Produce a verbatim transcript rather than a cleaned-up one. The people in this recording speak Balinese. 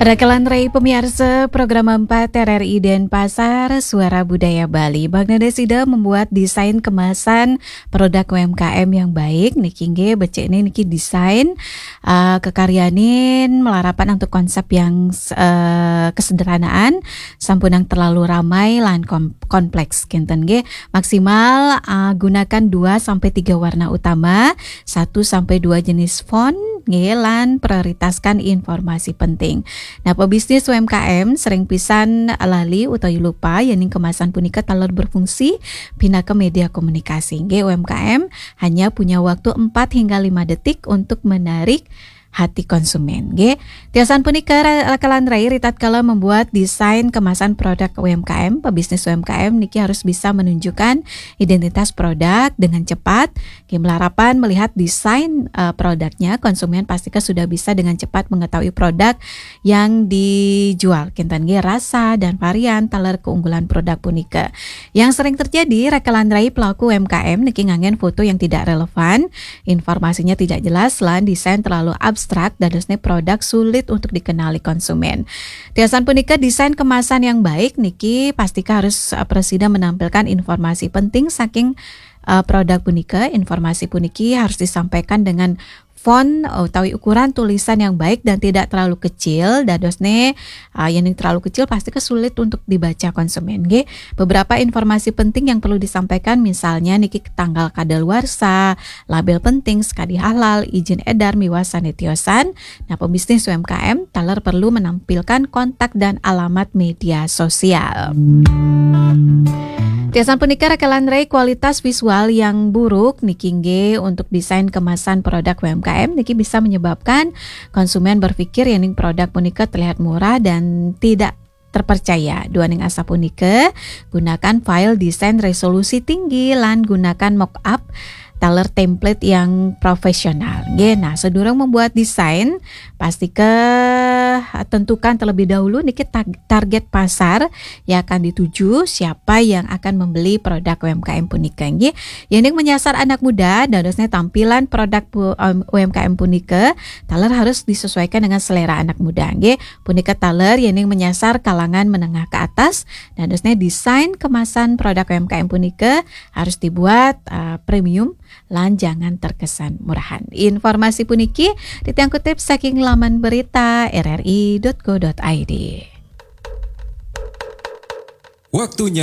Rakelan Rai pemiarsa program empat R R I Denpasar, Suara Budaya Bali. Bang Nada sida membuat desain kemasan produk U M K M yang baik. Niki nggih, becik ni niki desain, uh, kekaryanin melarapan untuk konsep yang, uh, kesederhanaan, sampun yang terlalu ramai lan kom-, kompleks kinten nggih. Maksimal, uh, gunakan dua sampai tiga warna utama, satu sampai dua jenis font nggih, lan prioritaskan informasi penting. Nah, pebisnis U M K M sering pisan lali utawi lupa yening kemasan punika taler berfungsi pinaka media komunikasi. Nggih, U M K M hanya punya waktu empat hingga lima detik untuk menarik hati konsumen. Nggih. Tiosan punika, ra-, rakelan rai, ritatkala membuat desain kemasan produk U M K M, pebisnis U M K M niki harus bisa menunjukkan identitas produk dengan cepat. Nggih, melarapan melihat desain, eh, produknya, konsumen pastika sudah bisa dengan cepat mengetahui produk yang dijual. Kinten nggih, rasa dan varian taler keunggulan produk punika. Yang sering terjadi, rakelan rai, pelaku U M K M niki nganggen foto yang tidak relevan, informasinya tidak jelas, lan desain terlalu abstrak, dadosne produk sulit untuk dikenali konsumen. Tiosan punika, desain kemasan yang baik niki pastika harus, eh, presida menampilkan informasi penting saking, eh, produk punika. Informasi puniki harus disampaikan dengan font utawi ukuran tulisan yang baik dan tidak terlalu kecil. Dadosne, uh, yen terlalu kecil pastika sulit untuk dibaca konsumen nggih. Beberapa informasi penting yang perlu disampaikan, misalnya niki tanggal kadaluarsa, label penting, sekadi halal, izin edar miwah sane tiosan. Nah, pebisnis U M K M taler perlu menampilkan kontak dan alamat media sosial. Tiosan punika, rakelan rai, kualitas visual yang buruk niki nggih untuk desain kemasan produk U M K M niki bisa menyebabkan konsumen berpikir yening produk punika terlihat murah dan tidak terpercaya. Duaning asapunika, gunakan file desain resolusi tinggi lan gunakan mock-up taler template yang profesional. Nggih, nah, sedurung membuat desain, pastika, eh, tentukan terlebih dahulu niki tag-, target pasar yang akan dituju, siapa yang akan membeli produk U M K M punika nggih. Yening menyasar anak muda, dadosne tampilan produk pu-, em, U M K M punika taler harus disesuaikan dengan selera anak muda nggih. Punika taler yening menyasar kalangan menengah ke atas, dadosne desain kemasan produk U M K M punika harus dibuat, eh, premium lan jangan terkesan murahan. Informasi puniki titiang kutip saking laman berita R R I dot co dot I D. Waktunya